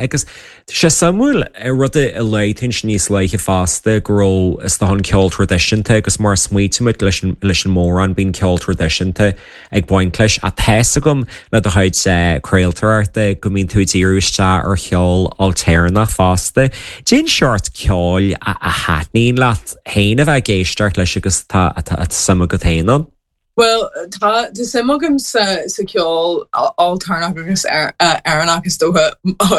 Agus tá sé suimiúil, rud a luaigh tú ansin níos luaithe fosta, go raibh, is dócha, an ceol traidisiúnta agus mar a smaoitímid leis an, leis an mórán, bíonn ceol traidisiúnta ag baint leis. Ach tá's agam le do chuid craoltóireachta go mbíonn tú ag díriú isteach ar cheol ailtéarnach fosta. Cén seort ceoil a thaitníonn leat féin a bheith ag éisteacht leis agus atá, atá suim agat féin ann? Bhuel, tá suim agam sa cheol ailtéarnach agus Éireannach is dócha,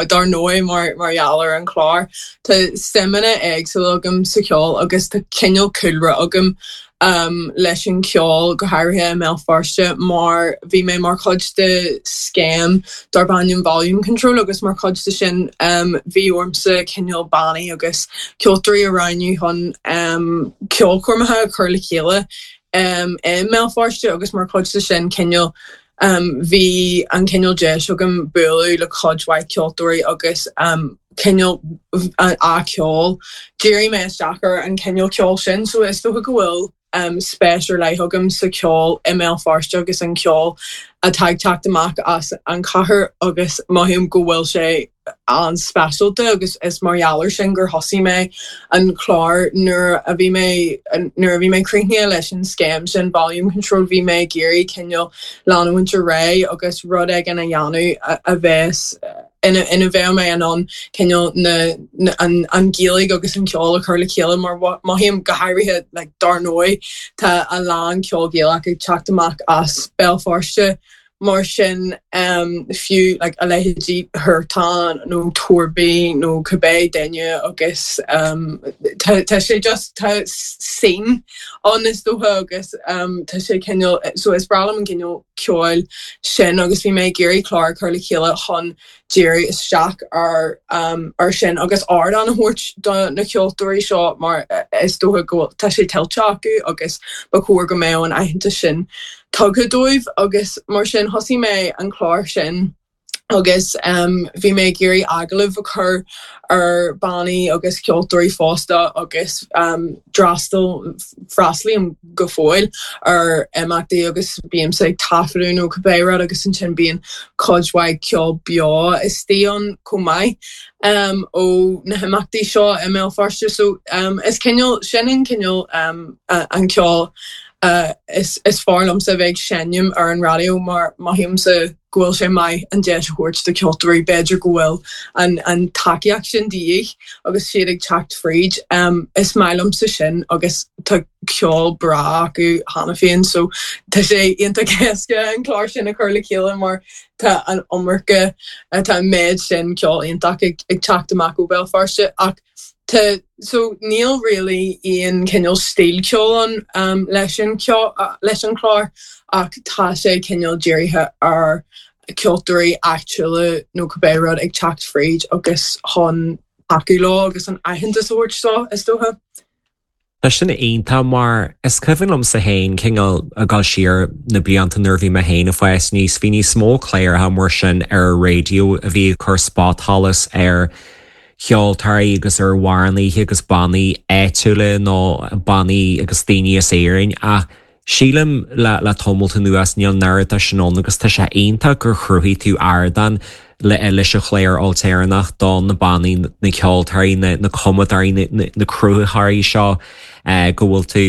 dar ndóigh, mar gheall ar an chlár. Tá suimeanna éagsúla agam sa cheol agus tá cineál cúlra agam leis an cheol, go háirithe i mBéal Feirste, mar bhí mé mar chuid de scéim darb ainm Volume Control agus mar chuid de sin bhí ormsa cineál bannaí agus ceoltóirí a roghnú chun ceolchoirmeacha a chur le chéile i mBéal Feirste agus mar chuid de sin cineál bhí an cineál deis agam bualadh le cuid mhaith ceoltóirí agus cineál a ceol. Dhírigh mé isteach ar an cineál ceoil sin so is dócha go bhfuil spéis ar leith agam sa cheol i mBéal Feirste agus an ceol atá ag teacht amach as an chathair agus mothaím go bhfuil sé an-speisialta agus is mar gheall air sin gur thosaigh mé an clár nuair a bhí mé nuair a bhí mé críochnaithe leis an scéim sin Volume Control bhí mé ag iarraidh cineál leanúint ar aghaidh agus rud éigin a dhéanamh a bheas ina ina bheadh mé in ann cineál na an an Ghaeilge agus an ceol a chur le chéile mar mothaím go háirithe like dar ndóigh tá a lán ceol Gaelach ag teacht amach as Béal Feirste Mar sin, fiú like a leithéidí Huartan nó Torby nó cibé duine agus tá tá sé just tá scene ann is dócha agus tá sé cineál so is breá liom an cineál ceoil sin agus bhí mé ag iarraidh clár a chur le chéile chun díriú isteach ar ar sin agus ardán a thabhairt do na ceoltóirí seo mar is dócha go bhfuil tá sé tuillte acu agus ba chóir go mbeadh an aitheantas sin tugtha dóibh agus mar sin thosaigh mé an clár sin agus bhí mé ag iarraidh agallamh a chur ar bannaí agus ceoltóirí fosta agus d'fhreastail freastalaím go fóill ar imeachtaí agus bímse ag taifeadadh nó cibé rud agus ansin bíonn cuid mhaith ceol beo istigh ann chomh maith ó na himeachtaí seo i mBéal Feirste. So is cineál, sin an cineál an ceol is fearr liomsa a bheith ag seinm ar an raidió mar mothaímse go bhfuil sé maith an deis a thabhairt do cheoltóirí, b'fhéidir go bhfuil an tacaíocht sin de dhíth agus siad ag teacht fríd. Is maith liomsa sin agus tá ceol breá acu cheana féin so tá sé iontach éasca an clár sin a chur le chéile mar tá an iomarca, tá an méid sin ceol iontach ag teacht amach ó Bhéal Feirste ach Tá, so níl really aon cineál stíl ceoil ann leis an leis an chlár ach tá sé cineál dírithe ar ceoltóirí áitiúla nó cibé rud ag teacht fríd agus chun tacú leo agus an aitheantas a thabhairt dó, is dócha. Tá sin iontach mar is cuimhin liomsa féin cineál ag dul siar na blianta nuair a bhí mé féin ag fás aníos, bhí níos mó cláracha mar sin ar an raidió a bhí ag cur spotsholas ar cheoltóirí agus ar amhránaithe agus bannaí áitiúla nó bannaí agus daoine as Éirinn ach Sílim le le tamalt anuas níl an oiread de sin ann agus tá sé iontach gur chruthaigh tú ardán le leis an chlár ailtéarnach do na bannaí, na ceoltóirí, na na cumadóirí, na na na cruthaitheoirí seo go bhfuil tú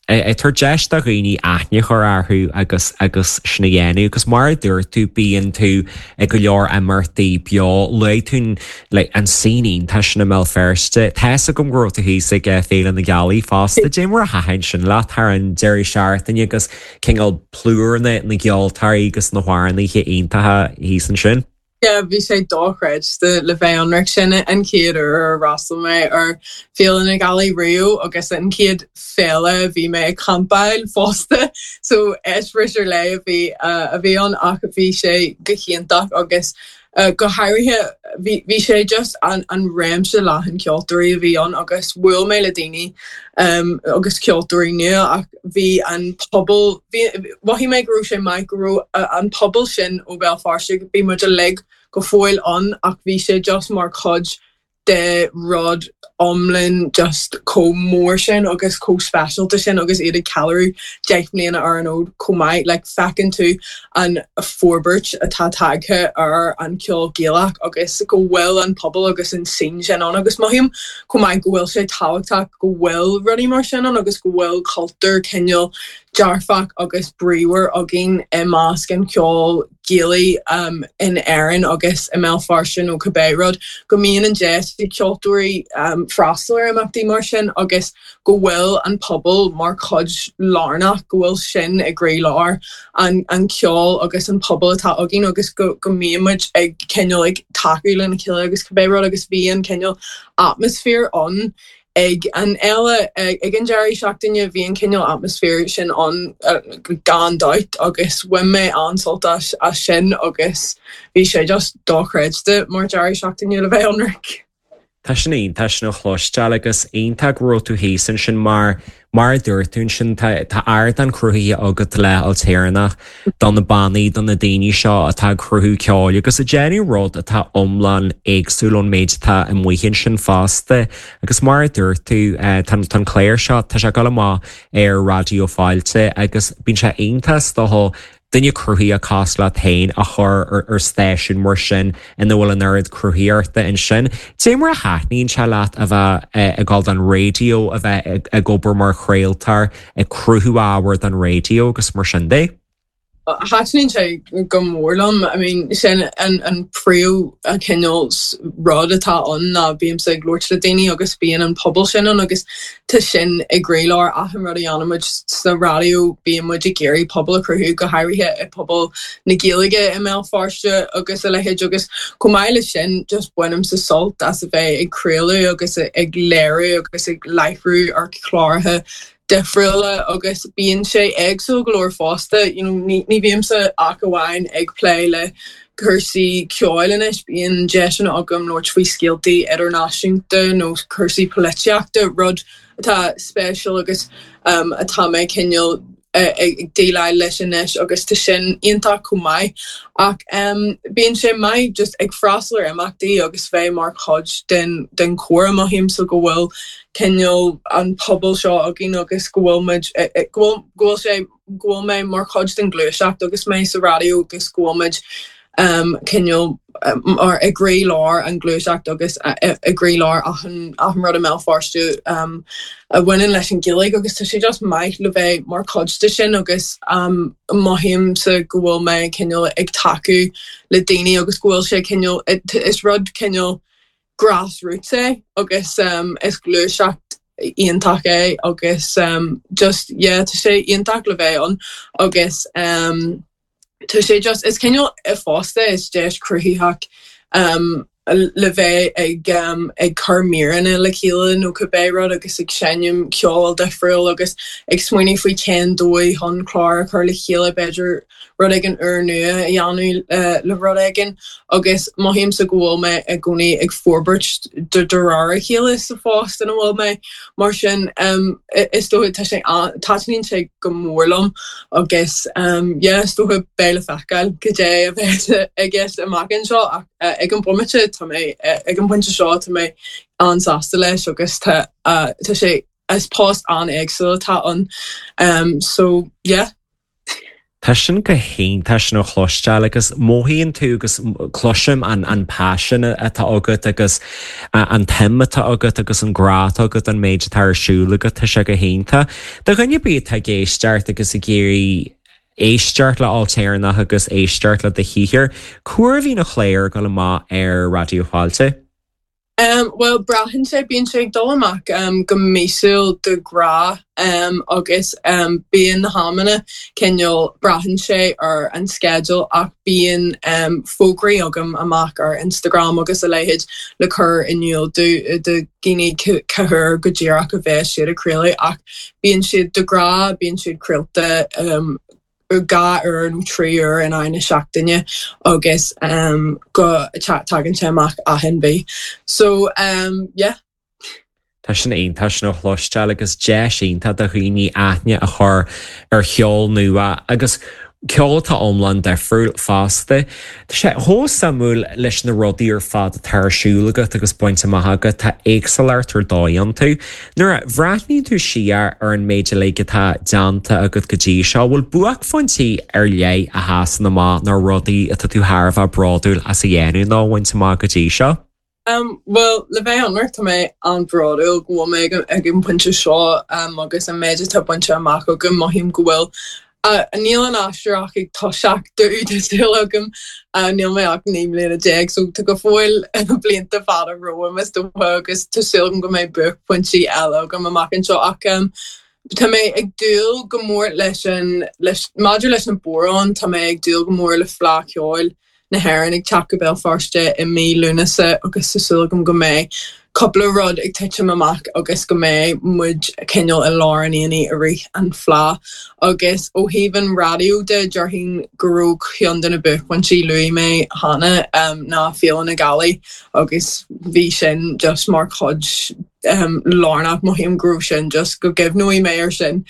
ag tabhairt deis do dhaoine aithne a chur orthu agus agus sin a dhéanamh agus mar a dúirt tú bíonn tú ag go leor imeachtaí beo, luaigh tú an like an scene iontach sin i mBéal Feirste. Tá fhios agam go raibh tú thíos ag Féile na Gealaí fosta. Dé mar a thaitin sin leat thar an deireadh seachtaine agus cineál plúr na na gceoltóirí agus na hamhránaithe iontacha thíos ansin. Yeah, bhí sé dochreidte le bheith ionraic. Sin an chéad uair ar fhreastail mé ar Féile na Gealaí riamh agus an chéad féile a bhí mé ag campáil fosta. So eispéireas ar leith a bhí a bhí ann ach bhí sé go hiontach agus Go háirithe, bhí bhí sé just an an réimse leathan ceoltóirí a bhí ann agus bhuail mé le daoine agus ceoltóirí nua ach bhí an pobal, bhí, mhothaigh mé go raibh sé maith go raibh an pobal sin ó Bhéal Feirste, bhí muid uilig go fóill ann ach bhí sé just mar chuid. de rud iomlán just chomh mór sin agus chomh speisialta sin agus iad ag ceiliúradh 10 mbliana ar an fhód chomh maith. Like feiceann tú an forbairt atá tagtha ar an cheol Gaelach agus go bhfuil an pobal agus an scene sin ann agus mothaím chomh maith go bhfuil sé tábhachtach go bhfuil rudaí mar sin ann agus go bhfuil cultúr cineál dearfach agus bríomhar againn i measc an cheoil Ghaelaigh in Éirinn agus i mBéal Feirste nó cibé rud, go mbíonn an deis ag ceoltóirí freastal ar imeachtaí mar sin agus go bhfuil an pobal mar chuid lárnach, go bhfuil sin i gcroílár an cheoil agus an pobal atá againn agus go mbíonn muid ag cineál ag tacú lena chéile agus cibé rud agus bhí an cineál atmaisféar ann Ag an fhéile, ag an deireadh seachtaine, bhí an cineál atmaisféar sin ann gan dabht agus bhain mé an-sult as sin agus bhí sé just dochreidte mar deireadh seachtaine le bheith ionraic. Tá sin iontach sin a chloisteáil agus iontach go raibh tú thíos ansin mar mar a dúirt tú ansin tá tá ardán cruthaithe agat le Ailtéarnach do na bannaí, do na daoine seo atá ag cruthú ceoil agus ag déanamh rud atá iomlán éagsúil ón méid atá amuigh ansin fosta. Agus mar a dúirt tú, tá an clár seo, tá sé ag dul amach ar Raidió Fáilte agus bíonn sé iontach is dócha duine cruthaitheach cosúil leat féin a chur ar stáisiún mar sin ina bhfuil an oiread cruthaitheachta ansin. Cad é mar a thaitníonn sé leat a bheith ag dul don raidió, a bheith ag obair mar chraoltóir, ag cruthú ábhar don raidió agus mar sin de? Thaitníonn sé go mór liom. I mean, sin an an príomh cineál rud atá ann ná bímse ag labhairt le daoine agus bíonn an pobal sin ann agus tá sin i gcroílár achan rud a dhéanann muid sa raidió, bíonn muid ag iarraidh pobal a chruthú, go háirithe i pobal na Gaeilge i mBéal Feirste agus a leithéid agus chomh maith leis sin just bainimse sult as a bheith ag craoladh agus ag léiriú agus ag láithriú ar chláracha difriúla agus bíonn sé éagsúil go leor fosta. You know, ní, ní bhímse ach amháin ag plé le cúrsaí ceoil anois, bíonn deiseanna agam labhairt faoi scéaltaí idirnáisiúnta nó cúrsaí polaitíochta, rud atá spéisiúil agus um, atá mé cineál ag déileáil leis anois agus tá sin iontach chomh maith. Ach um, bíonn sé maith just ag freastal ar imeachtaí agus bheith mar chuid den, den chomhrá mothaímse go bhfuil cineál an pobal seo againn agus go bhfuil muid, go bhfuil, go bhfuil sé, go bhfuil mé mar chuid den ghluaiseacht agus mé sa raidió agus go bhfuil muid cineál mar i gcroílár an ghluaiseacht agus i gcroílár achan, achan rud i mBéal Feirste a bhaineann leis an Ghaeilge agus tá sé just maith le bheith mar chuid de sin agus mothaímse go bhfuil mé cineál ag tacú le daoine agus go bhfuil sé cineál, is rud cineál grassroots é agus is gluaiseacht iontach é agus just yeah tá sé iontach le bheith ann agus tá sé just is cineál fosta is deis cruthaitheach le bheith ag ag cur míreanna le chéile nó cibé rud agus ag seinm ceol difriúil agus ag smaoineamh faoi cén dóigh chun clár a chur le chéile b'fhéidir rud éigin úrnua a dhéanamh le rud éigin agus mothaímse go bhfuil mé i gcónaí ag forbairt de réir a chéile sa phost ina bhfuil mé. Mar sin is dócha tá sé taitníonn sé go mór liom agus yeah is dócha beidh le feiceáil cad é a bheidh i gceist amach anseo ach ag an bomaite tá mé ag an bpointe seo tá mé an-sásta leis agus tá tá sé is post an-éagsúil atá ann so yeah. Tá sin go hiontach sin a chloisteáil agus mothaíonn tú agus cloisim an an paisean atá agat agus an tsuim atá agat agus an grá atá agat don méid atá ar siúl agat, tá sé go hiontach. Do dhuine ar bith atá ag éisteacht agus ag iarraidh éisteacht le Ailtéarnach agus éisteacht le do shaothar, cá huair a bhíonn an clár ag dul amach ar Raidió Fáilte? Bhuel, braitheann sé, bíonn sé ag dul amach go míosúil de ghnáth agus bíonn na hamanna cineál, braitheann sé ar an sceideal ach bíonn fógraí agam amach ar Instagram agus a leithéid le cur in iúl do dhaoine cá huair go díreach a bheas siad ag craoladh ach bíonn siad de ghnáth, bíonn siad craolta 2 uair nó 3 uair in aghaidh na seachtaine agus go tagann sé amach achan mhí. So yeah. Tá sin iontach sin a chloisteáil agus deis iontach do dhaoine aithne a chur ar cheol nua agus. Ceol atá iomlán difriúil fosta. Tá sé chomh suimiúil leis na rudaí ar fad atá ar siúl agat agus bainte amach agat, tá éagsúlacht ar dóigh iontu. Nuair a bhreathnaíonn tú siar ar an méid uilig atá déanta agat go dtí seo, bhfuil buaicphointí ar leith a sheasann amach nó rudaí atá tú thar a bheith bródúil as a dhéanamh nó a bhaint amach go dtí seo? Bhuel, le bheith ionraic, tá mé an-bhródúil go bhfuil mé ag an bpointe seo agus an méid atá bainte amach agam, mothaím go bhfuil, níl an aistear ach ag toiseacht domh, tá súil agam, níl mé ach 19 mbliana so tá go fóill blianta fada romham is dócha agus tá súil agam go mbeidh buaicphointí eile agam amach anseo ach tá mé ag dúil go mór leis an, leis, maidir leis na bodhráin, tá mé ag dúil go mór le Fleadh Cheoil na hÉireann ag teacht go Béal Feirste i mí Lúnasa agus tá súil agam go mbeidh cúpla rud ag titim amach agus go mbeidh muid cineál i lár an aonaigh i rith an Fleadh. Agus ó thaobh an raidió de, déarfainn go raibh ceann de na buaicphointí luaigh mé cheana ná Féile na Gealaí agus bhí sin just mar chuid lárnach, mothaím go raibh sin just, go gcuimhneoidh mé ar sin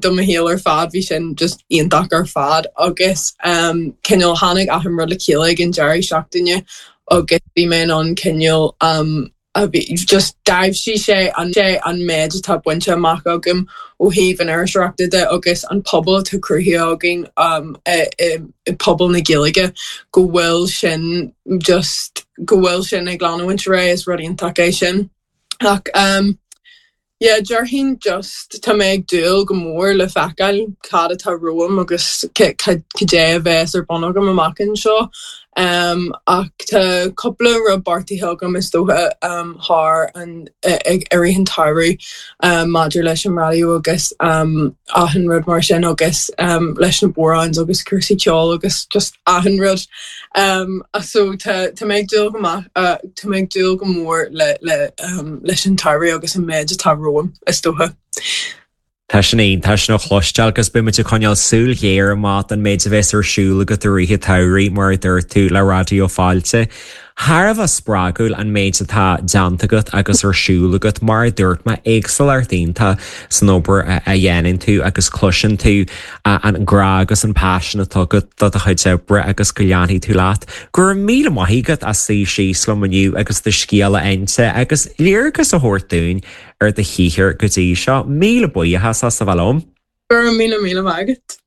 do mo shaol ar fad, bhí sin just iontach ar fad agus cineál tháinig achan rud le chéile ag an deireadh seachtaine agus bhí mé in ann cineál a bhí just d'aibhsigh sé an sé an méid atá bainte amach agam ó thaobh an iriseoireachta de agus an pobal atá cruthaithe againn i pobal na Gaeilge go bhfuil sin just go bhfuil sin ag leanúint ar aghaidh, is rud iontach é sin. Ach um yeah déarfainn just tá mé ag dúil go mór le feiceáil cad atá romham agus cad é a bheas ar bun agam amach anseo. Um ach tá cúpla rud beartaithe agam is dócha um thar an i rith an tsamhraidh um maidir leis an raidió agus um achan rud mar sin agus um leis na bodhráin agus cúrsaí ceoil agus just achan rud. Um so tá tá mé ag dúil go maith tá mé ag dúil go mór le le um leis an tsamhradh agus an méid atá romham is dócha. Tá sin iontach sin a chloisteáil agus beidh muid ag coinneáil súil ghéar amach don méid a bheas ar siúl agat i rith an tsamhraidh mar a dúirt tú le Raidió Fáilte. Thar a bheith spreagúil an méid atá déanta agat agus ar siúl agat, mar a dúirt mé, éagsúlacht iontach san obair a dhéanann tú agus cloiseann tú an grá agus an paisean atá agat do do chuid oibre agus go leanfaidh tú leat. Go raibh míle maith agat as suí síos liom inniu agus do scéal a inse agus léargas a thabhairt dúinn ar do shaothar go dtí seo. Míle buíochas as a bheith liom. Go raibh míle míle maith agat.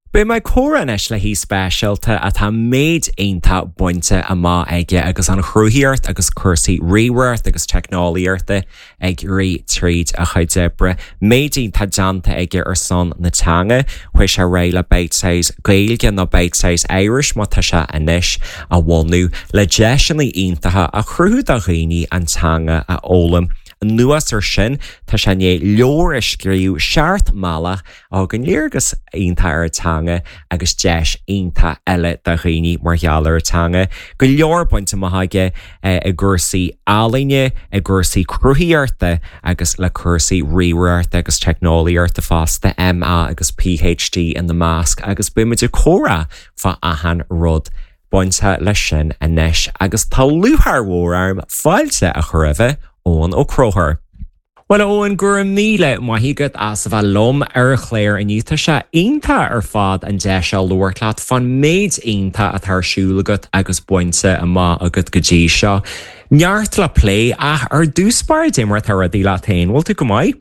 Beidh mé ag comhrá anois le haoi speisialta atá méid iontach bainte amach aige agus an chruthaitheacht agus cúrsaí ríomhaireachta agus teicneolaíochta ag rith tríd a chuid oibre. Méid iontach déanta aige ar son na teanga. Chuaigh sé ar aghaidh le Bitesize Gaeilge nó Bitesize Irish mar atá sé anois a bhunú le deiseanna iontacha a chruthú do dhaoine an teanga a fhoghlaim. Anuas ar sin, tá sé i ndiaidh leabhar a scríobh, Seacht mBealach, a thugann léargas iontach ar an teanga agus deis iontach eile do dhaoine mar gheall ar an teanga. Go leor bainte amach aige i gcúrsaí ealaíne, i gcúrsaí cruthaitheachta agus le cúrsaí ríomhaireachta agus teicneolaíochta fosta, MA agus PhD ina measc agus beidh muid ag comhrá fá achan rud bainte leis sin anois agus tá lúcháir mhór orm fáilte a chur roimhe, Eoin Ó Conchúir. Bhuel, a Eoin, go raibh míle maith agat as a bheith liom ar an chlár inniu. Tá sé iontach ar fad an deis seo labhairt leat fán méid iontach atá ar siúl agat agus bainte amach agat go dtí seo. Neart le plé, ach ar dtús báire, cad é mar atá rudaí leat féin, bhfuil tú go maith?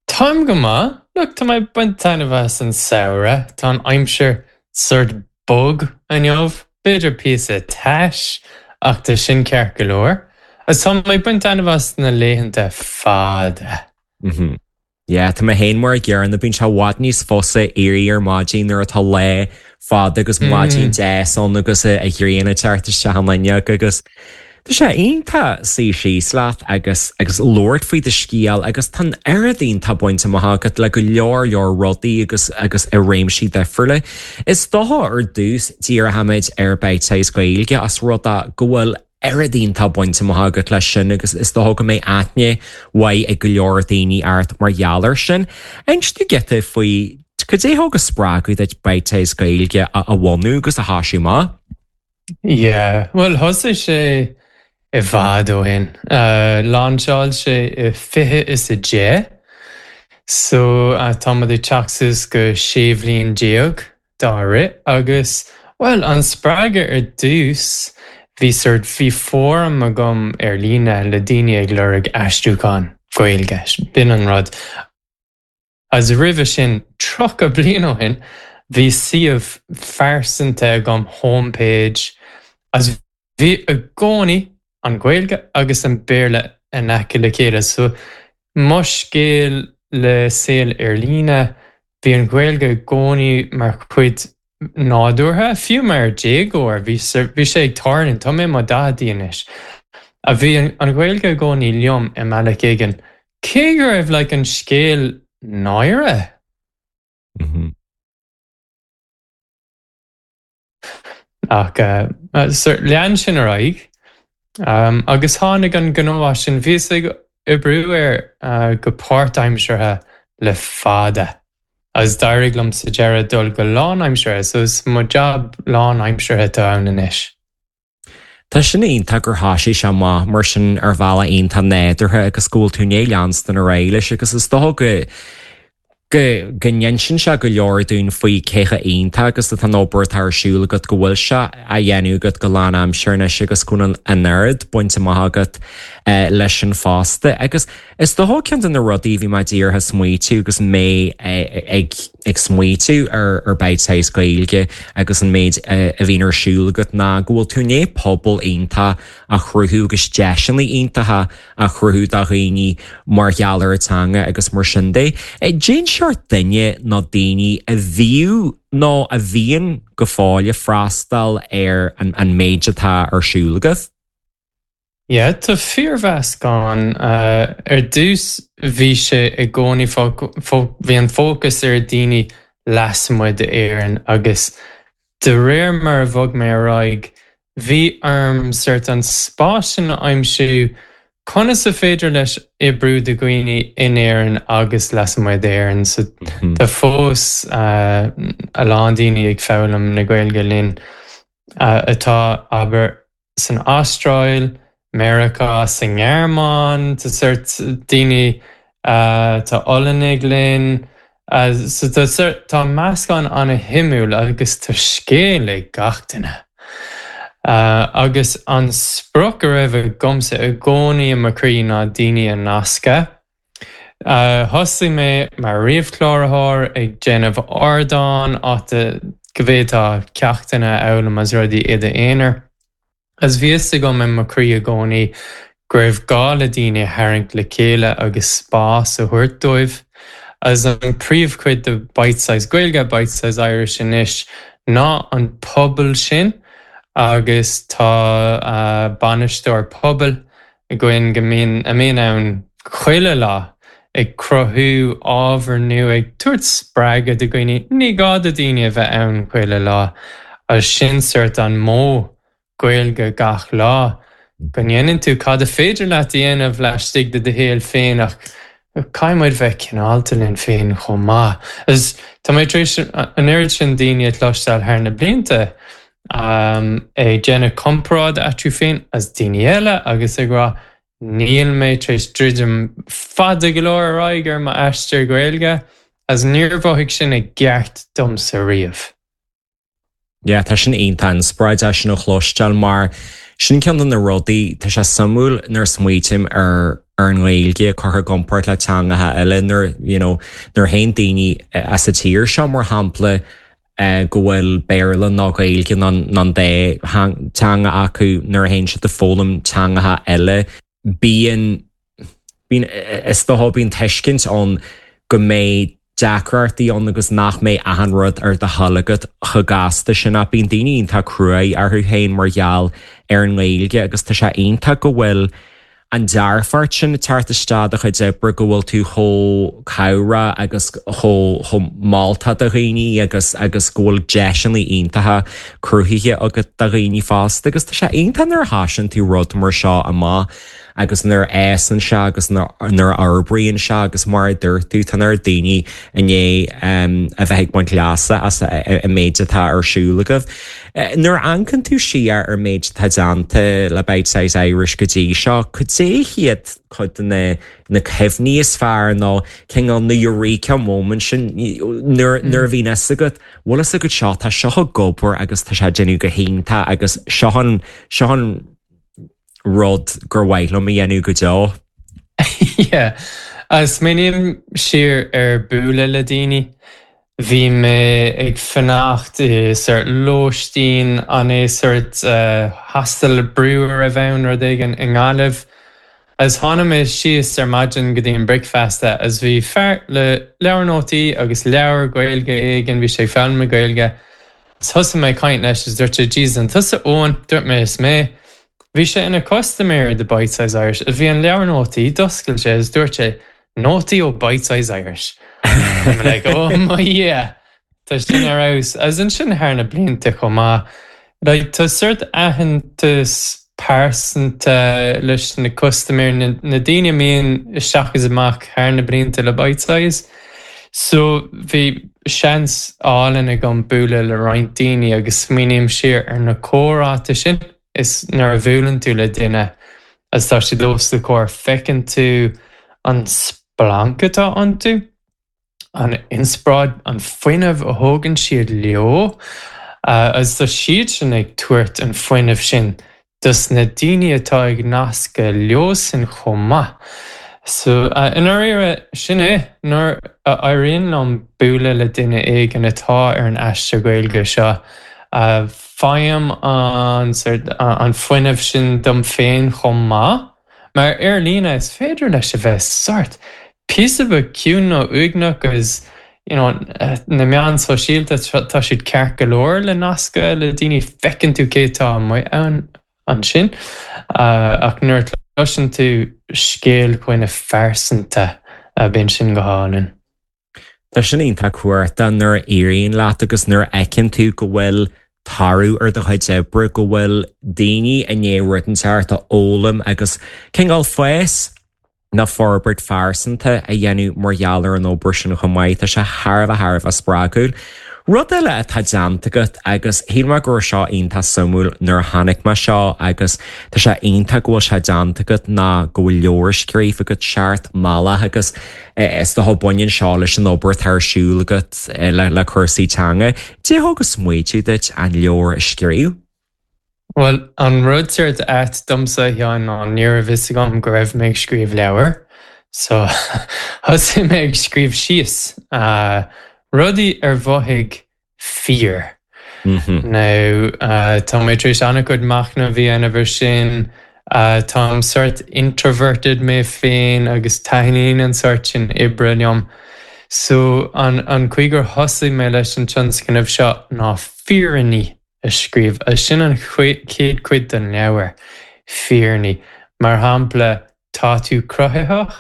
Táim go maith. Look, tá mé ag baint taitneamh as an samhradh. Tá an aimsir sort bog inniu, b'fhéidir píosa tais, ach tá sin ceart go leor. Agus tá mé ag baint taitneamh as na laethanta fada. Mhm. Yeah, tá mé féin mar an gcéanna, bíonn sé i bhfad níos fusa éirí ar maidin nuair atá lá fada agus maidin deas ann agus an ghrian ag teacht isteach an fhuinneog agus Tá sé iontach suí síos leat agus agus labhairt faoi do scéal agus tá an oiread iontach bainte amach agat le go leor leor rudaí agus agus i réimsí difriúla. Is dócha ar dtús díreoimid ar Bitesize Gaeilge as rud é go bhfuil oiread iontach bainte amach agat leis sin agus is dócha go mbeidh aithne mhaith ag go leor daoine ort mar gheall air sin. Inis dúinn giota faoi cad é thug an spreagadh duit Bitesize Gaeilge a a bhunú agus a thoisiú amach. Yeah, bhuel thosaigh sé i bhfad ó shin. Lainseáil sé i 20 is 10. So tá muid ag teacht suas go 16 bhliain dá rith agus, bhuel, an spreagadh ar dtús, bhí sort, bhí fóram agam ar líne le daoine ag lorg aistriúchán Gaeilge, b'in an rud. Agus roimhe sin, 30 bliain ó shin, bhí suíomh phearsanta agam, homepage, agus bhí i gcónaí an Ghaeilge agus an Béarla in aice le chéile. So mo scéal le saol ar líne, bhí an Ghaeilge i gcónaí mar chuid nádúrtha, fiú mar déagóir, bhí bhí sé ag tarlú, tá mé i mo daicheadaí anois, a bhí an Ghaeilge i gcónaí liom i mbealach éigin, cé go raibh like an scéal náire. Ach lean sin ar aghaidh agus tháinig an gnó as sin. Bhíos ag oibriú air go páirtaimseartha le fada agus d'éirigh liom sa deireadh dul go lánaimseartha, so is mo jab lánaimseartha atá ann anois. Tá sin iontach gur thoisigh sé amach mar sin ar bhealach iontach nádúrtha agus go bhfuil tú i ndiaidh leanstan ar aghaidh leis agus is dócha go go go n-insíonn sé go leor dúinn faoi cé chomh iontach agus atá an obair atá ar siúl agat, go bhfuil sé á dhéanamh agat go lánaimseartha anois agus go bhfuil an oiread bainte amach agat leis sin fosta. Agus is dócha ceann de na rudaí a bhí mé díreach ag smaoitiú agus mé ag ag smaoitiú ar ar Bitesize Gaeilge agus an méid a bhíonn ar siúl agat ná go bhfuil tú i ndiaidh pobal iontach a chruthú agus deiseanna iontacha a chruthú do dhaoine mar gheall ar an teanga agus mar sin de. Cén seort duine nó daoine a bhíodh nó a bhíonn go fóill ag freastal ar an méid atá ar siúl agat? Yeah, tá fíormheascán. Ar dtús bhí sé i gcónaí, bhí an fócas ar daoine lasmuigh d'Éirinn agus de réir mar a bhog mé ar aghaidh, bhí orm sort an spás sin a aimsiú, conas a féidir leis oibriú do dhaoine in Éirinn agus lasmuigh d'Éirinn. So tá fós a lán daoine ag foghlaim na Gaeilge linn atá, abair, san Astráil, Meiriceá, sa nGearmáin, tá sort daoine, tá Ollannaigh linn, so tá sort, tá meascán an-shuimiúil agus tá scéal ag gach duine. Agus an sprioc a raibh agamsa i gcónaí i mo chroí ná daoine a nascadh. Thosaigh mé mar ríomhchláraitheoir ag déanamh ardán áit go bhféadfá ceachtanna a fhoghlaim agus rudaí i d'aonar. Agus bhí fhios agam i mo chroí i gcónaí go raibh gá le daoine a tharraingt le chéile agus spás a thabhairt dóibh. Agus an príomhchuid de Bitesize Gaeilge, Bitesize Irish anois ná an pobal sin agus tá bainisteoir pobail againn go mbíonn, a mbíonn ann chuile lá ag cruthú ábhar nua, ag tabhairt spreagadh do dhaoine. Ní gá do daoine a bheith ann chuile lá agus sin sort an modh Gaeilge gach lá, go ndéanann tú cad a féidir leat a dhéanamh laistigh de do shaol féin ach caithfidh muid bheith cineálta linn féin chomh maith. Agus tá mé tar éis an oiread sin daoine a chloisteáil thar na blianta ag déanamh comparáid eatarthu féin agus daoine eile agus ag rá níl mé tar éis druidim fada go leor ar aghaidh ar m'aistear Gaeilge agus níor mhothaigh sin i gceart domsa riamh. Yeah, tá sin iontach inspioráideach sin a chloisteáil mar sin ceann de na rudaí, tá sé suimiúil nuair a smaoitím ar ar an nGaeilge curtha i gcomparáid le teangacha eile nuair you know nuair a théann daoine as an tír seo mar shampla go bhfuil Béarla nó Gaeilge nó an dá teanga acu nuair a théann siad ag foghlaim teangacha eile bíonn, bíonn, is dócha, bíonn tuiscint ann go mbeidh deacrachtaí ann agus nach mbeidh achan rud ar do thoil agat chomh gasta sin ach bíonn daoine iontach cruaidh orthu féin mar gheall ar an nGaeilge agus tá sé iontach go bhfuil an dearfacht sin ag teacht isteach i do chuid oibre, go bhfuil tú chomh cabhrach agus chomh chomh moltach do dhaoine agus agus go bhfuil deiseanna iontacha cruthaithe agat do dhaoine fosta agus tá sé iontach nuair a thoisíonn tú rud mar seo amach. agus nuair a fhásann sé agus nuair a fhorbraíonn sé agus mar a dúirt tú, tá an oiread daoine i ndiaidh a bheith ag baint leasa as an méid atá ar siúl agaibh. Nuair a amharcann tú siar ar an méid atá déanta le Bitesize Irish go dtí seo, cad é hiad cuid de na na cuimhní is fearr nó cineál na eureka moments sin nuair nuair a bhíonn fhios agat, bhfuil fhios agat seo, tá seo ag obair agus tá sé ag déanamh go hiontach agus seo an seo an rud gur mhaith liom a dhéanamh go deo. Yeah. Smaoiním siar ar bualadh le daoine. Bhí mé ag fanacht i sort lóistín, an é sort hostel brú a raibh ann, rud éigin, i nGaillimh. Agus tháinig mé síos ar maidin go dtí an bricfeasta agus bhí fear le leabhar nótaí agus leabhar Gaeilge éigin, bhí sé ag foghlaim na Gaeilge. Agus thosaigh mé ag caint leis agus dúirt sé, Jesus, an tusa Eoin? Dúirt mé, is mé. Bhí sé ina custaiméir de Bitesize Irish. Bhí an leabhar nótaí, d'oscail sé agus dúirt sé, Nótaí ó Bitesize Irish. I'm like, oh my yeah! Tá sin ar fheabhas. Agus ansin thar na blianta chomh maith, like tá sort aitheantas pearsanta leis na custaiméirí, na daoine a mbíonn isteach is amach thar na blianta le Bitesize. So bhí seans álainn agam bualadh le roinnt daoine agus smaoiním siar ar na comhráite sin is nuair a bhuaileann tú le duine agus tá siad os do chomhair feiceann tú an splanc atá iontu. an inspioráid, an fuinneamh a thógann siad leo agus tá siad sin ag tabhairt an fuinneamh sin dos na daoine atá ag nascadh leosan chomh maith. So, i ndáiríre, sin é, nuair a éiríonn liom bualadh le duine éigin atá ar an aistear Gaeilge seo, faighim an sort, an fuinneamh sin dom féin chomh maith. Mar ar líne is féidir leis a bheith sort píosa beag ciúin nó uaigneach agus you know na meáin sóisialta tá siad ceart go leor le nascadh le daoine, feiceann tú cé atá amuigh ann ansin ach nuair a chloiseann tú scéal dhuine phearsanta bíonn sin go hálainn. Tá sin iontach cumhachtach nuair a éiríonn leat agus nuair a fheiceann tú go bhfuil toradh ar do chuid oibre, go bhfuil daoine i ndiaidh rud inteacht a fhoghlaim agus cineál fás nó forbairt phearsanta a dhéanamh mar gheall ar an obair sin chomh maith. Tá sé thar a bheith thar a bheith spreagúil. Rud eile atá déanta agat agus shíl mé go raibh seo iontach suimiúil nuair a chonaic mé seo agus tá sé iontach go bhfuil sé déanta agat ná go bhfuil leabhar scríofa agat, Seacht mBealach agus Is dócha baineann seo leis an obair atá ar siúl agat le cúrsaí teanga. Cad é a thug an smaoitiú duit an leabhar a scríobh? Bhuel, an rud sort ait domsa, a Sheáin, ná ní raibh fhios agam go raibh mé ag scríobh leabhair. So, thosaigh mé ag scríobh síos rudaí ar mhothaigh fíor. Now, tá mé tar éis an-chuid machnaimh a dhéanamh ar sin. Táim sort introverted mé féin agus taitníonn an sort sin oibre liom. So, an chaoi gur thosaigh mé leis an tionscnamh seo ná fírinní a scríobh. Agus sin an chéad chuid den leabhar, fírinní. Mar shampla, tá tú cruthaitheach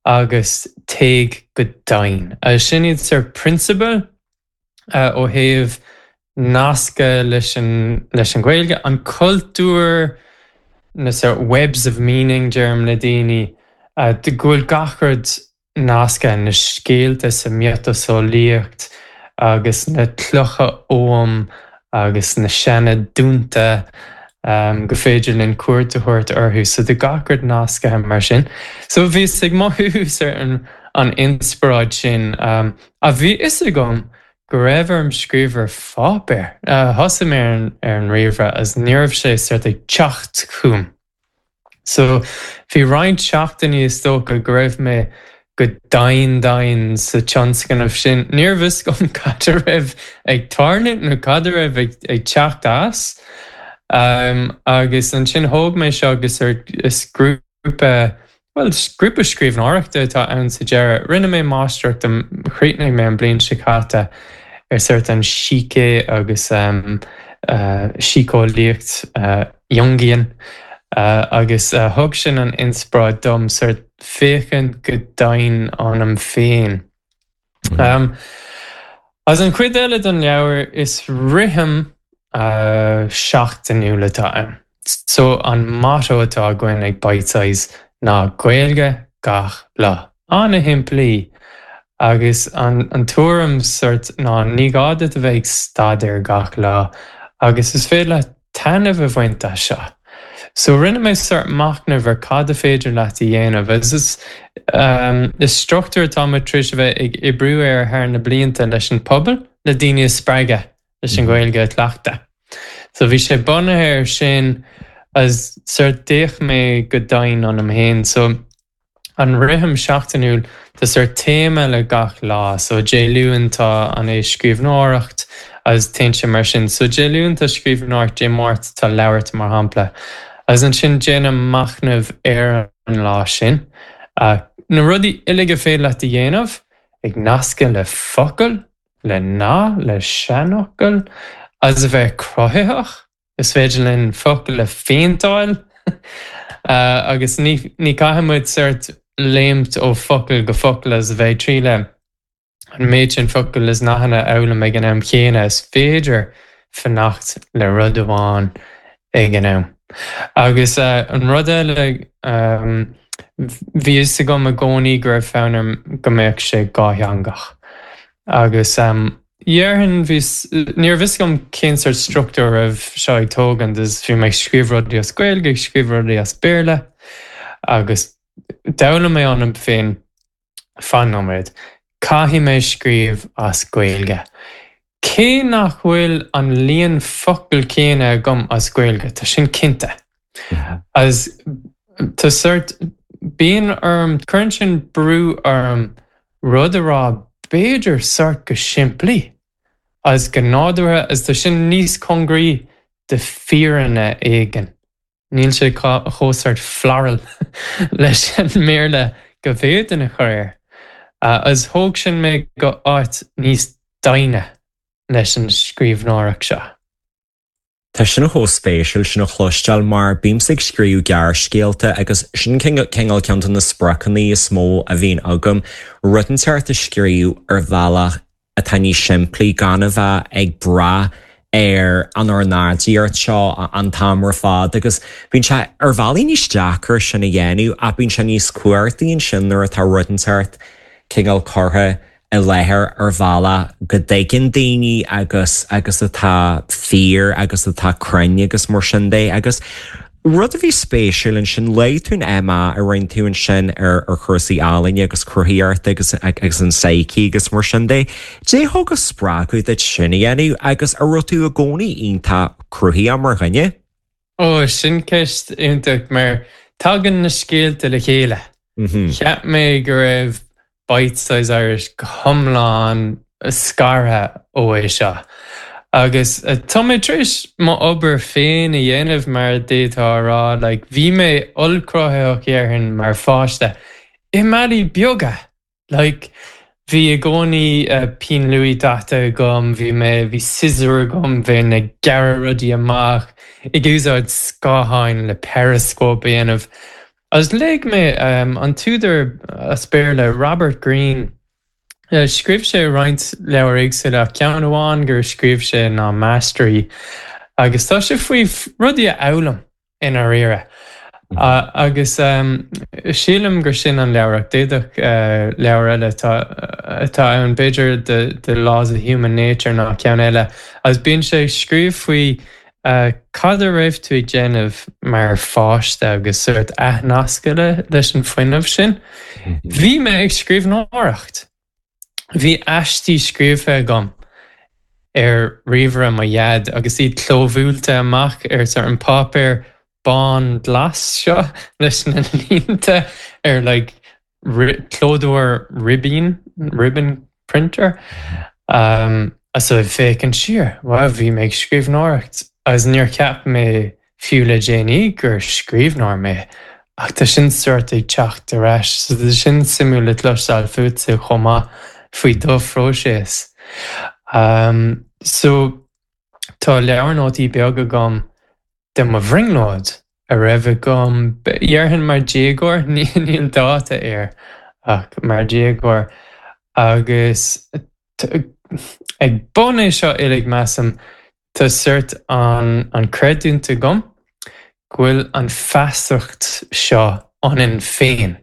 agus téigh go domhain. Agus sin iad sort prionsabail ó thaobh nascadh leis an leis an Ghaeilge, an cultúr, na sort webs of meaning deirim le daoine, go bhfuil gach rud nasctha, na scéalta sa miotaseolaíocht agus na clocha Oghaim agus na seana dúnta go féidir linn cuairt a thabhairt orthu. So tá gach rud nasctha mar sin. So bhíos ag mothú sort an inspioráid sin. Ach bhí fhios agam go raibh orm scríobh ar pháipéar. Thosaigh mé ar an ríomhaire agus ní raibh sé sort ag teacht chugam. So bhí roinnt seachtainí is dócha go raibh mé go domhain domhain sa tionscnamh sin. Ní raibh fhios agam cad a raibh ag tarlú nó cad a raibh ag teacht as. Agus ansin thóg mé seo agus is grúpa Grúpa, bhuel, grúpa scríbhneoireachta atá ann sa deireadh. Rinne mé máistreacht, chríochnaigh mé an bliain seo caite ar sort an sícé agus síceolaíocht Jungian agus thug sin an inspioráid dom sort féachaint go domhain ionam féin. Agus an chuid eile den leabhar, is rithim seachtainiúil atá ann. So an motto atá againn ag Bitesize ná Gaeilge gach lá. An-shimplí. Agus an tuairim sort ná ní gá duit a bheith ag staidéar gach lá agus is féidir leat taitneamh a bhaint as seo. So rinne mé sort machnamh ar cad a féidir leat a dhéanamh agus is is struchtúr atá muid tar éis a bheith ag oibriú air thar na blianta leis an pobal le daoine a spreagadh leis an Ghaeilge a chleachtadh. So bhí sé bunaithe air sin agus sort d'fhéach mé go domhain ionam féin. So an rithim seachtainiúil tá sort téama le gach lá. So Dé Luain tá an é scríbhneoireacht agus téann sé mar sin. So Dé Luain tá scríbhneoireacht, Dé Máirt tá labhairt mar shampla. Agus ansin déanaim machnamh ar an lá sin. Na rudaí uilig a féidir leat a dhéanamh ag nascadh le focail, le nath, le seanfhocal, agus a bheith cruthaitheach. Is féidir linn focail a phéinteáil agus ní caithfidh muid sort léimt ó focal go focal agus a bheith ag triail an méid sin focal is nathanna a fhoghlaim ag an am chéanna. Is féidir fanacht le rud amháin ag an am. Agus an rud eile, bhí fhios agam i gcónaí go raibh fonn orm go mbeadh sé dhátheangach. Agus dhéarfainn, bhí, ní raibh fhios agam cén sort struchtúr a raibh seo ag tógaint agus bhí mé ag scríobh rudaí as Gaeilge, ag scríobh rudaí as Béarla agus d'fhoghlaim mé ionam féin, fan nóiméad, caithfidh mé scríobh as Gaeilge. Cé nach bhfuil an líon focal céanna agam as Gaeilge, tá sin cinnte. Agus tá sort, bíonn orm, cuireann sin brú orm rud a rá b'fhéidir sort go simplí agus go nádúrtha agus tá sin níos cóngaraí do fírinne éigin. Níl sé chomh sort floral leis an mBéarla go bhféadfainn a chur air. Agus thóg sin mé go áit níos doimhne leis an scríbhneoireacht seo. Tá sin chomh spéisiúil sin a chloisteáil mar bímse ag scríobh gearrscéalta agus sin cineál ceann de na spriocanna is mó a bhíonn agam, rud inteacht a scríobh ar bhealach atá níos simplí, gan a bheith ag brath ar an ornáidíocht seo an t-am ar fad agus bíonn sé ar bhealaí níos deacra sin a dhéanamh ach bíonn sé níos cumhachtaí ansin nuair atá rud inteacht cineál curtha i láthair ar bhealach go dtuigeann daoine agus agus atá fíor agus atá cruinn agus mar sin de. Agus rud a bhí spéisiúil ansin, luaigh tú an MA a rinne tú ansin ar ar chúrsaí ealaíne agus cruthaitheachta agus agus an psyche agus mar sin de. Cad é thug an spreagadh duit sin a dhéanamh agus an raibh tú i gcónaí iontach cruthaitheach mar dhuine? Ó, sin ceist iontach mar tagann na scéalta le chéile. Cheap mé go raibh Bitesize Irish go hiomlán scartha ó é seo. Agus tá mé tar éis mo obair féin a dhéanamh mar d'fhéadfá a rá, like bhí mé ollchruthaitheach déarfainn mar pháiste i mbealaí beaga. Like bhí i gcónaí pinn luaidhe daite agam, bhí mé, bhí siosúr agam, bheinn ag gearradh rudaí amach, ag úsáid scátháin le periscope a dhéanamh. Agus léigh mé an t-údar as Béarla, Robert Greene. Scríobh sé roinnt leabhar éagsúla ach ceann amháin gur scríobh sé ná Mastery agus tá sé faoi rudaí a fhoghlaim i ndáiríre. Agus sílim gur sin an leabhar ach d'fhéadfadh leabhar eile atá ann, b'fhéidir The Laws of Human Nature ná ceann eile. Agus bíonn sé ag scríobh faoi Cad a raibh tú ag déanamh mar pháiste agus sórt athnascadh leis an fuinneamh sin? Bhí mé ag scríbhneoireacht. Bhí aistí scríofa agam ar ríomhaire mo dhaid agus iad clóbhuailte amach ar sort an páipéar bán glas seo leis na línte ar like clódóir ribín, ribbon printer, so ag féachaint siar, wow, bhí mé ag scríbhneoireacht agus níor cheap mé fiú le déanaí gur scríbhneoir mé ach tá sin sórt ag teacht ar ais so tá sin suimiúil le cloisteáil fútsa chomh maith faoi do phróiseas. So tá leabhar nótaí beag agam de mo bhrionglóid a raibh agam, dhéarfainn mar dhéagóir, níl dáta air ach mar dhéagóir, agus ag bun é seo uilig measaim, tá sórt an an creidiúint agam. go bhfuil an feasacht seo ionainn féin,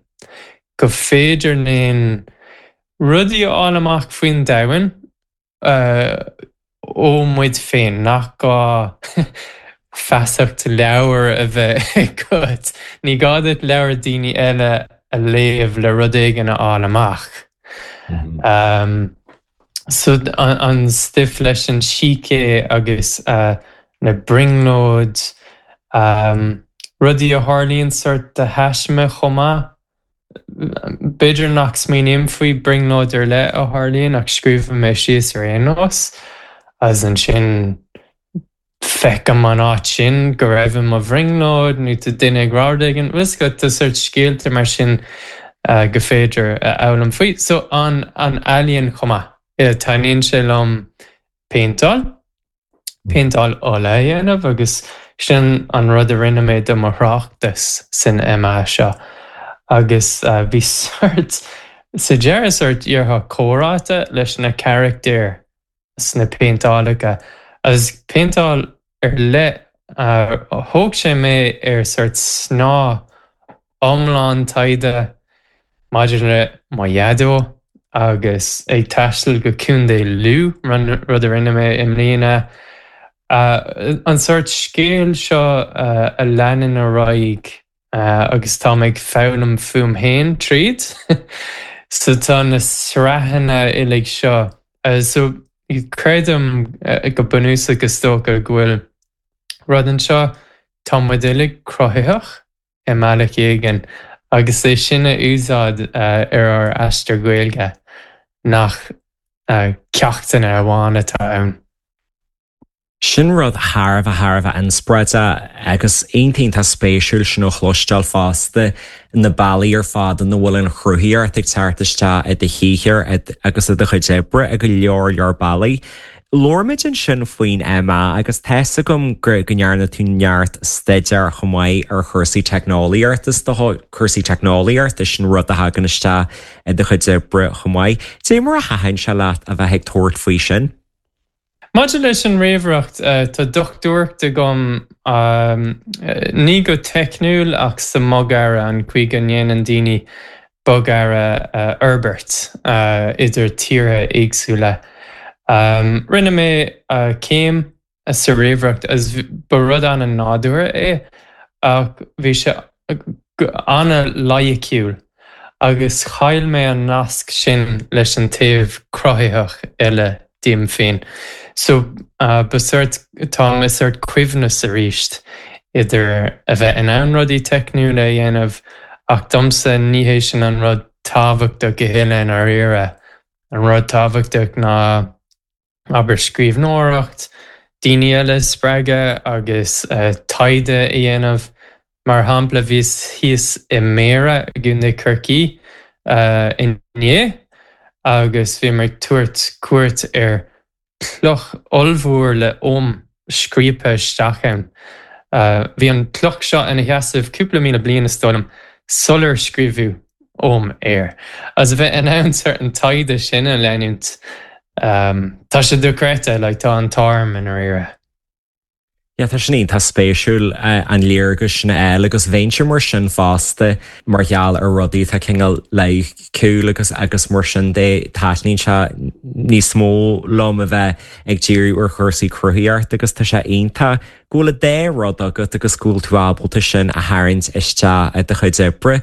go féidir linn rudaí a fháil amach faoin domhan ó muid féin, nach gá feasacht leabhar a bheith agat, ní gá duit leabhar daoine eile a léamh le rud éigin a fháil amach. So an stuif leis an sícé agus na brionglóid, rudaí a tharlaíonn sort de thaisme chomh maith. B'fhéidir nach smaoiním faoi brionglóid ar leith a tharlaíonn ach scríobhaim é síos ar aon nós agus ansin feicim an áit sin go raibh i mo bhrionglóid nó tá duine ag rá rud éigin, bhfuil 'fhios agat, tá sort scéalta mar sin go féidir a fhoghlaim faoi. So an ealaíon chomh maith. Taitníonn sé liom péinteáil, péinteáil ola a dhéanamh agus sin an rud a rinne mé do mo thráchtas san MA seo agus bhí sort, sa deireadh sort déarfá comhráite leis na carachtair sna péinteálacha agus péinteáil ar leith thóg sé mé ar sort snáth iomlán taighde maidir le mo dhaideo agus ag taisteal go Contae Lú, rud a rinne mé i mbliana. An sort scéal seo a leanann ar aghaidh agus táim ag foghlaim fúm féin tríd. So tá na sraitheanna uilig seo. So creidim go bunúsach is dócha go bhfuil rud anseo, tá muid uilig cruthaitheach i mbealach éigin agus é sin a úsáid ar ár aistear Gaeilge nach ceachtanna amháin atá ann. Sin rud thar a bheith, thar a bheith inspioráideach agus iontach, iontach spéisiúil sin a chloisteáil fosta, na bealaí ar fad ina bhfuil an chruthaíocht ag teacht isteach i do shaothar agus i do chuid oibre i go leor, leor bealaí. Labhair muid ansin faoin MA agus tá's agam go ndearna tú neart staidéir chomh maith ar chúrsaí teicneolaíochta, is dócha, cúrsaí teicneolaíochta, sin rud a thagann isteach i do chuid oibre chomh maith. Dé mar a thaitin sé leat a bheith ag tabhairt faoi sin? Maidir leis an ríomhaireacht, tá dochtúireacht agam, ní go teicniúil ach sa mbogearra, an chaoi go ndéanann daoine bogearra a fhorbairt idir tíortha éagsúla. Rinne mé céim sa ríomhaireacht agus ba rud an-nádúrtha é ach bhí sé an-loighiciúil agus chaill mé an nasc sin leis an taobh cruthaitheach eile díom féin. So ba sort, táim i sort coibhneas arís idir a bheith in ann rudaí teicniúla a dhéanamh ach domsa ní hé sin an rud tábhachtach a thuilleadh i ndáiríre. An rud tábhachtach ná abair scríbhneoireacht, daoine eile a spreagadh agus taighde a dhéanamh. Mar shampla, bhíos thíos i mBéarra i gContae Chorcaí inné agus bhíomar ag tabhairt cuairt ar chloch ollmhór le Ogham scríobtha isteach ann. Bhí an chloch seo ina sheasamh cúpla míle bliain, is dóigh liom, sular scríobhadh Ogham air. Agus a bheith in ann sort an taighde sin a leanúint, tá sé dochreidte, like tá an t-ádh orm i ndáiríre. Yeah, tá sin iontach spéisiúil an léargas sin a fháil agus bheinnse mar sin fosta mar gheall ar rudaí atá cineál loighciúil agus agus mar sin de taitníonn sé níos mó liom a bheith ag díriú ar chúrsaí cruthaitheachta agus tá sé iontach go bhfuil an dá rud agat agus go bhfuil tú ábalta sin a tharraingt isteach i do chuid oibre.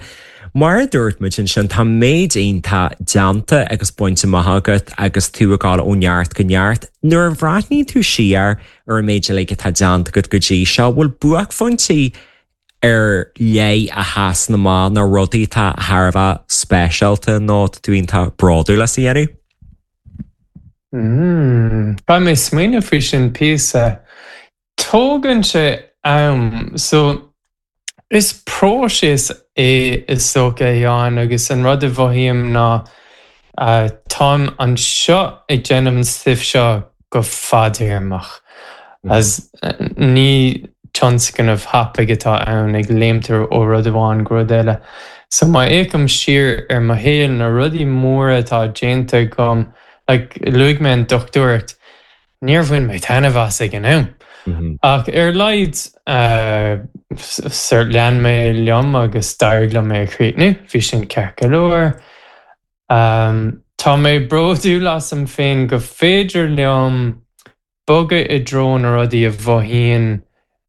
Mar a dúirt muid ansin, tá méid iontach déanta agus bainte amach agat agus tú ag dul ó neart go neart. Nuair a bhreathnaíonn tú siar ar an méid uilig atá déanta agat go dtí seo, bhfuil buaicphointí ar leith a sheasann amach nó rudaí atá thar a bheith speisialta nó tá tú iontach bródúil as a dhéanamh? Caithfidh mé smaoineamh faoi sin píosa. Tógann sé am. So, is próiseas é is dócha, a Sheáin, agus an rud a mhothaím ná táim anseo ag déanamh an stuif seo go fadtéarmach. As ní tionscnamh tapaidh atá ann ag léimt ó rud amháin go rud eile. So má fhéachaim siar ar mo shaol, na rudaí móra atá déanta agam, like luaigh mé an dochtúireacht, níor bhain mé taitneamh as ag an am. Ach ar a laghad sort lean mé liom agus d'éirigh liom é a chríochnú, bhí sin ceart go leor. Tá mé bródúil asam féin go féidir liom bogadh i dtreo na rudaí a mhothaíonn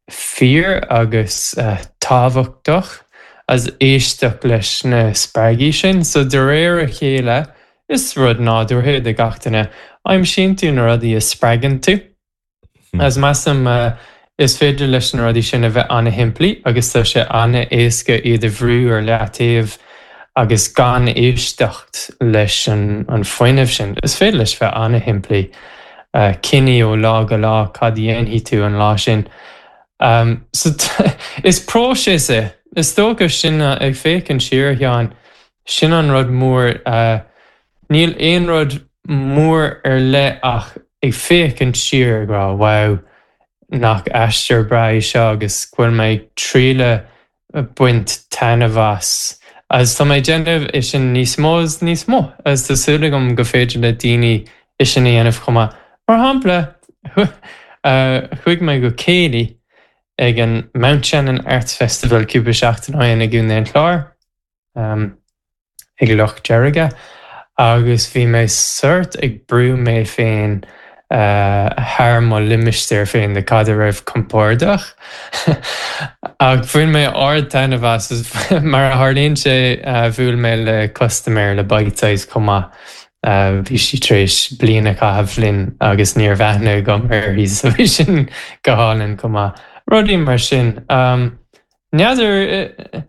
fíor agus tábhachtach agus éisteacht leis na spreagaí sin. So de réir a chéile, is rud nádúrtha é do gach duine, aimsíonn tú na rudaí a spreagann tú. Agus measaim is féidir leis na rudaí sin a bheith an-shimplí agus tá sé an-éasca iad a bhrú ar leataobh agus gan éisteacht leis an fuinneamh sin. Is féidir leis bheith an-shimplí. Cinní ó lá go lá cad a dhéanfaidh tú an lá sin. So is próiseas é. Is dócha sin ag féachaint siar, a Sheáin, sin an rud mór. Níl aon rud mór ar leith ach ag féachaint siar ag rá wow, nach aistear breá é seo agus go bhfuil mé ag triail baint taitneamh as. Agus tá mé ag déanamh é sin níos mó is níos mó agus tá súil agam go féidir le daoine é sin a dhéanamh chomh maith. Mar shampla, chuaigh mé go céilí ag an Mountshannon Arts Festival cúpla seachtain ó shin i gContae an Chláir. ag Loch Deirge agus bhí mé sort ag brú mé féin thar mo limistéar féin de cad a raibh compordach. Ach bhain mé ard-taitneamh as is mar a tharlaíonn sé bhuail mé le custaiméir le Bitesize chomh maith. Bhí sí tar éis bliain a chaitheamh linn agus ní raibh aithne agam uirthi so bhí sin go hálainn chomh maith. Rudaí mar sin. N'fheadar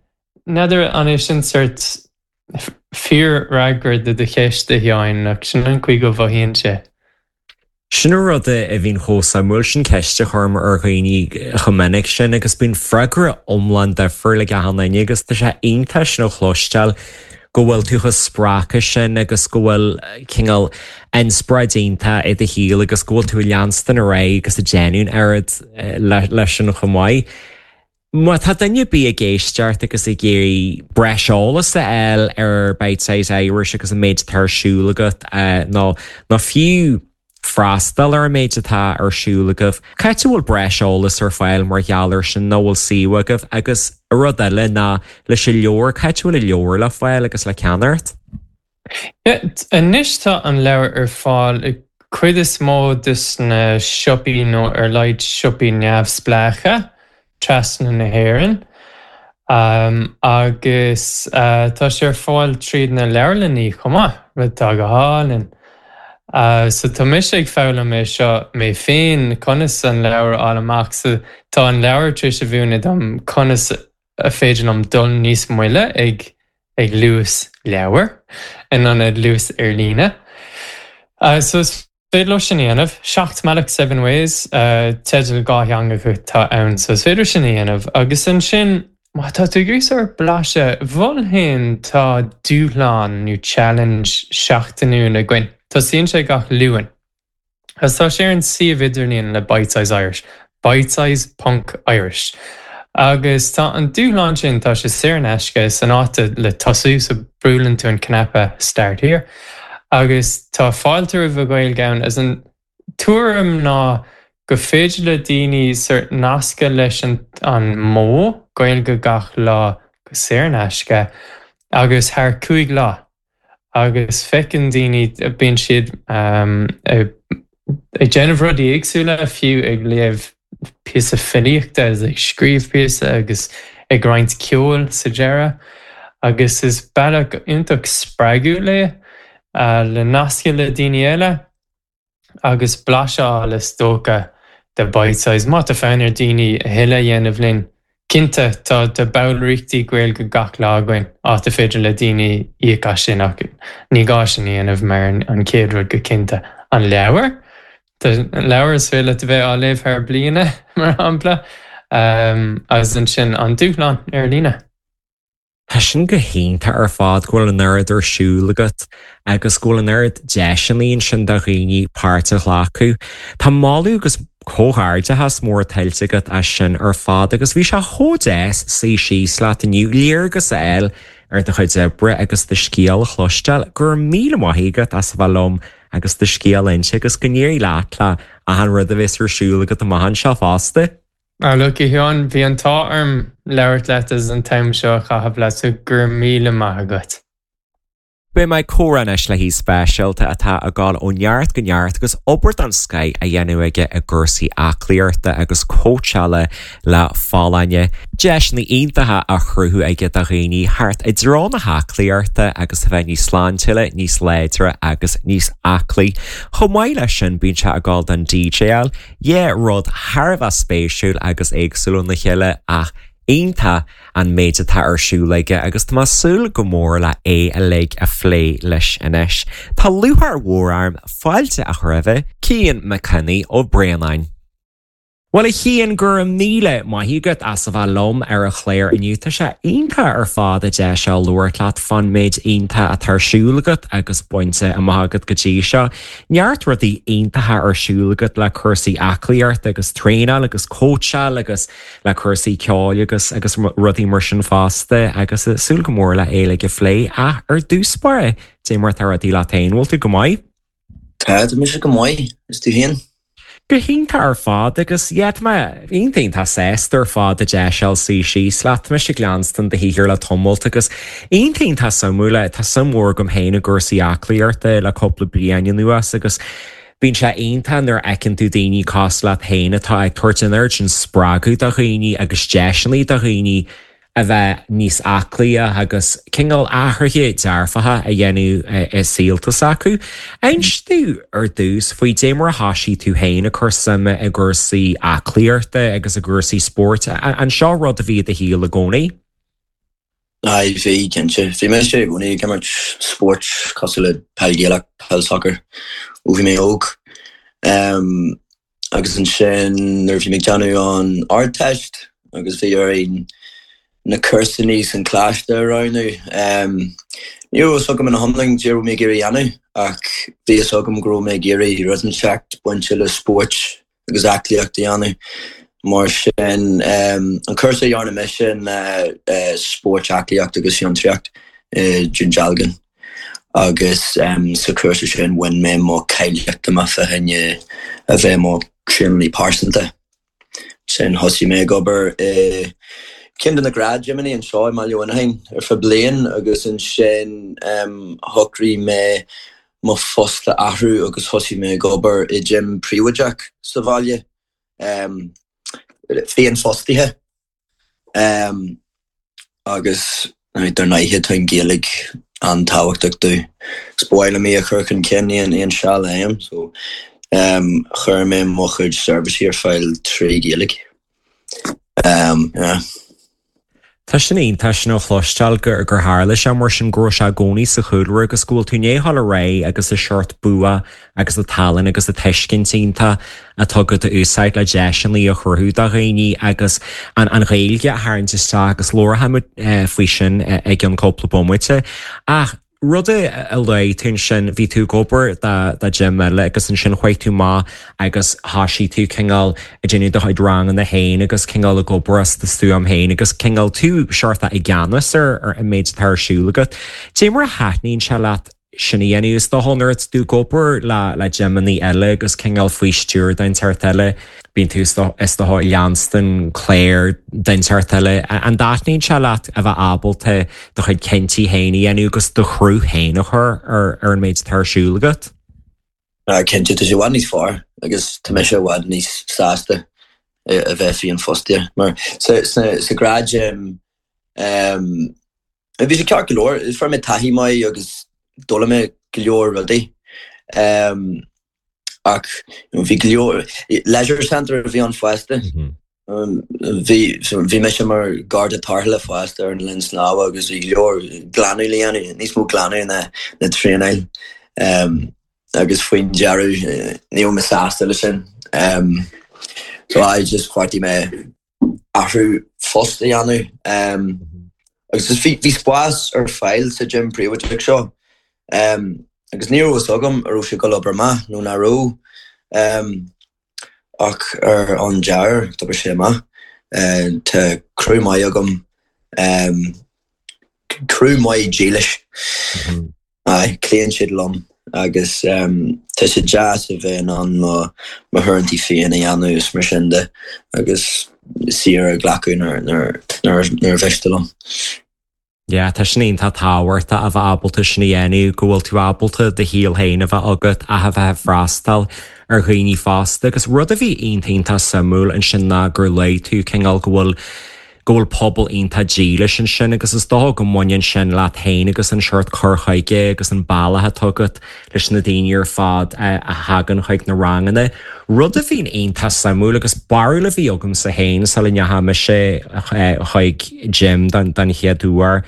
N'fheadar an é sin sort fíorfhreagra do do cheist, a Sheáin, ach sin an chaoi go mhothaíonn sé. Sin an rud a bhíonn chomh suimiúil, sin ceist a chuirim ar dhaoine chomh minic sin agus bíonn freagra iomlán difriúil ag achan duine agus tá sé iontach sin a chloisteáil go bhfuil tú chomh spreagtha sin agus go bhfuil cineál inspioráid iontach i do shaol agus go bhfuil tú ag leanstan ar aghaidh agus ag déanamh an oiread leis sin chomh maith. Má tá duine ar bith ag éisteacht agus ag iarraidh breis eolais a fháil ar Bitesize Irish agus an méid atá ar siúl agat, nó nó fiú freastal ar an méid atá ar siúl agaibh, cá háit a bhfuil breis eolais ar fáil mar gheall air sin, nó bhfuil suíomh agaibh? Agus rud eile ná leis an leabhar, cá háit a bhfuil an leabhar le fáil agus le ceannacht? Anois tá an leabhar ar fáil i cuid is mó de na siopaí nó ar laghad siopaí neamhspleácha trasna na hÉireann agus tá sé ar fáil tríd na leabharlannaí chomh maith, rud atá go hálainn. So tá mise ag foghlaim é seo mé féin conas an leabhar a fháil amach so tá an leabhar tar éis a mhúineadh dom conas a féidir liom dul níos moille ag ag luas leabhair in ionad luas ar líne. So is féidir leo sin a dhéanamh. 7 mBealach Seven Ways, teideal dhátheangach atá ann so is féidir sin a dhéanamh. Agus ansin má tá tú ag iarraidh sórt blaiseadh, mholfainn tá dúshlán nó challenge seachtainiúil againn. Tosaíonn sé gach Luan. Agus tá sé ar an suíomh idirlíon le Bitesize Irish, bitesize ponc Irish. Agus tá an dúshlán sin, tá sé saor in aisce, san áit le tosú, so buaileann tú an cnaipe Start Here. Agus tá fáilte roimh an Ghaeilge ann, agus an tuairim ná go féidir le daoine sort nascadh leis an an modh Gaeilge gach lá go saor in aisce agus thar 5 lá. agus feiceann daoine, bíonn siad ag déanamh rudaí éagsúla, fiú ag léamh píosa filíochta agus ag scríobh píosa agus ag roinnt ceoil sa deireadh. Agus is bealach iontach spreagúil é le nascadh le daoine eile. agus blaiseadh a fháil is dócha de Bitesize. Má tá fonn ar daoine a thuilleadh a dhéanamh linn, cinnte tá tá ballraíochtaí Gaeilge gach lá againn, áit a féidir le daoine íoc as sin ach ní gá sin a dhéanamh mar an chéad rud go cinnte. An leabhar? Tá leabhar is féidir leat a bheith á léamh thar bliana, mar shampla, agus ansin an dúshlán ar líne. Tá sin go hiontach ar fad go bhfuil an oiread ar siúl agat agus go bhfuil an oiread deiseanna ansin do dhaoine páirt a ghlacadh. Tá moladh agus comhghairdeachas mór tuillte agat as sin ar fad agus bhí sé chomh deas suí síos leat inniu, léargas a fháil ar do chuid oibre agus do scéal a chloisteáil. Go raibh míle maith agat as a bheith liom. agus do scéal a inse agus go n-éirí leat le achan rud a bheas ar siúl agat amach anseo fosta. Ah look, a Sheáin, bhí an t-ádh orm labhairt leat agus an t-am seo a chaitheamh leat so go raibh míle maith agat. Beidh mé ag comhrá anois le haoi speisialta atá ag dul ó neart go neart agus obair den scoith á dhéanamh aige i gcúrsaí aclaíochta agus cóitseála le folláine. Deiseanna iontacha á chruthú aige do dhaoine thart i dtreo na haclaíochta agus a bheith níos sláintiúla, níos láidre agus níos aclaí. Chomh maith leis sin bíonn sé ag dul don DJáil, yeah rud thar a bheith spéisiúil agus éagsúil óna chéile ach iontach an méid atá ar siúl aige agus tá mé ag súil go mór le é uilig a phlé leis anois. Tá lúcháir mhór orm fáilte a chur roimhe, Cian Mac Cionnaith Ó Braonáin. Bhuel a Chian, go raibh míle maith agat as a bheith liom ar an chlár inniu. Tá sé iontach ar fad an deis seo labhairt leat fán méid iontach atá ar siúl agat agus bainte amach agat go dtí seo. Neart rudaí iontacha ar siúl agat le cúrsaí aclaíochta agus traenáil agus cóitseáil agus le cúrsaí ceoil agus agus rudaí mar sin fosta agus súil go mór le é uilig a phlé. Ach ar dtús báire, dé mar atá rudaí leat féin, bhfuil tú go maith? Tá, tá mise go maith, is tú féin? Go hiontach ar fad agus yeah tá mé iontach iontach sásta ar fad an deis a fháil suí síos leat. Tá mise ag leanstan do shaothar le tamalt agus iontach iontach suimiúil, tá suim mhór agam féin i gcúrsaí aclaíochta le cúpla bliain anuas agus Bíonn sé iontach nuair a fheiceann tú daoine cosúil leat féin atá ag tabhairt an oiread sin spreagadh do dhaoine agus deiseanna do dhaoine a bheith níos aclaí agus cineál athruithe dearfacha a dhéanamh i saolta s'acu. Inis domh ar dtús faoi dé mar a thoisigh tú féin ag cur suime i gcúrsaí aclaíochta agus i gcúrsaí spóirt. An seo rud a bhí i do shaol i gcónaí? Aye, bhí, cinnte. Bhí mise i gcónaí ag imirt spóirt cosúil le peil Ghaelach, peil sacair ó bhí mé óg. Agus ansin nuair a bhí mé ag déanamh an Ardteist agus bhí orainn na cúrsanna san coláiste a roghnú, ní raibh fhios agam ina hiomlán cad a raibh mé ag iarraidh a dhéanamh ach bhí fhios agam go raibh mé ag iarraidh rud inteacht bainte le spóirt agus aclaíocht a dhéanamh. Mar sin, an cúrsa a dhearna mise ná Spórt, Aclaíocht agus Fiontraíocht i Dún Dealgan agus sa chúrsa sin bhain mé mo cáilíocht tá mé fá choinne a bheith mo thraenálaí pearsanta. Sin thosaigh mé ag obair i ceann de na gnáthgymeanna anseo i mBaile Mhuineacháin ar feadh bliain agus ansin shocraigh mé mo phost a athrú agus thosaigh mé ag obair i gym príobháideach sa bhaile, féinfhostaithe, agus dar ndóighe tá an Ghaeilge an-tábhachtach domh. Is ba mhaith liom í a chur chun cinn aon seal a fhaighim, so chuir mé mo chuid seirbhísí ar fáil trí Ghaeilge. Yeah. Tá sin iontach sin a chloisteáil gur gur tharla sé mar sin, go raibh sé i gcónaí sa chúlra agus go bhfuil tú i ndiaidh dul ar aghaidh agus an seort bua agus an tallann agus an tuiscint iontach atá agat a úsáid le deiseanna a chruthú do dhaoine agus an an Ghaeilge a tharraingt isteach agus labharfaimid faoi sin i gceann cúpla bomaite. Ach. Rud a luaigh tú ansin, bhí tú ag obair do gym eile agus ansin chuaigh tú amach agus thoisigh tú cineál ag déanamh do chuid ranganna féin agus cineál ag obair as do stuaim féin agus cineál tú seort i gceannas ar an méid atá ar siúl agat. Dé mar a thaitníonn sé leat sin a dhéanamh? Is dócha nuair atá tú ag obair le le gymeanna eile agus cineál faoi stiúir duine inteacht eile, bíonn tú is dócha ag leanstan clár duine inteacht eile. An dtaitníonn sé leat a bheith ábalta do chuid cinntí féin a dhéanamh agus do chruth féin a chur ar an méid atá ar siúl agat? Cinnte, tá sé i bhfad níos fearr agus tá mise i bhfad níos sásta a bheith féinfhostaithe mar sa ghnáthghym bhí sé ceart go leor, fuair mé taithí maith agus d'fhoghlaim mé go leor rudaí. Ach bhí go leor, leisure centre a bhí ann fosta. Bhí, bhí mise mar garda tarrthála fosta ar an linn snámha agus bhí go leor glanadh le dhéanamh, níos mó glanadh ná ná traenáil. Agus faoin deireadh ní raibh mé sásta leis sin. So I just bheartaigh mé athrú phost a dhéanamh. Agus bhí bhí spás ar fáil sa gym príobháideach seo agus ní raibh fhios agam an raibh sé ag dul obair amach nó nach raibh. Ach ar an deireadh d'oibrigh sé amach. Tá criú maith agam, criú maith dílis. Aye, cloíonn siad liom. agus tá sé deas a bheith in ann mo mo huaireantaí féin a dhéanamh is mar sin de agus saoire a ghlacadh nuair nuair nuair a mhiste liom. Yeah, tá sin iontach tábhachtach a bheith ábalta sin a dhéanamh, go bhfuil tú ábalta do shaol féin a bheith agat ach a bheith ag freastal ar dhaoine fosta. Agus rud a bhí iontach iontach suimiúil ansin ná gur luaigh tú cineál go bhfuil go bhfuil pobal iontach dílis ansin agus is dócha go mbaineann sin leat féin agus an seort cur chuige agus an bealach atá agat leis na daoine ar fad a thagann chuig na ranganna. Rud a bhíonn iontach suimiúil agus barúil a bhí agamsa féin sula ndeachaigh mise chuig gym don chéad uair,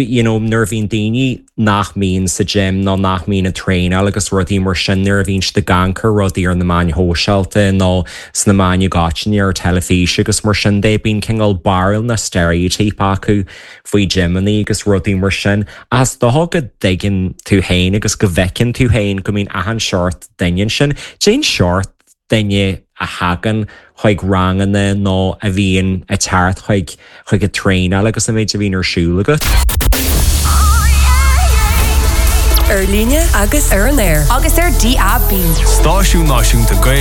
you know nuair a bhíonn daoine nach mbíonn sa gym nó nach mbíonn ag traenáil agus rudaí mar sin, nuair a bhíonn siad ag amharc ar rudaí ar na meáin shóisialta nó sna meáin i gcoitinne ar teilifís agus mar sin de, bíonn cineál barúil nó stereotype acu faoi gymeanna agus rudaí mar sin. Ach is dócha go dtuigeann tú féin agus go bhfeiceann tú féin go mbíonn achan seort duine ansin. Cén seort duine a thagann chuig ranganna nó a bhíonn ag teacht chuig chuig an traenáil agus an méid a bhíonn ar siúl agat? Ar líne agus ar an aer. Agus ar DAB. Stáisiún Náisiúnta Gaeilge.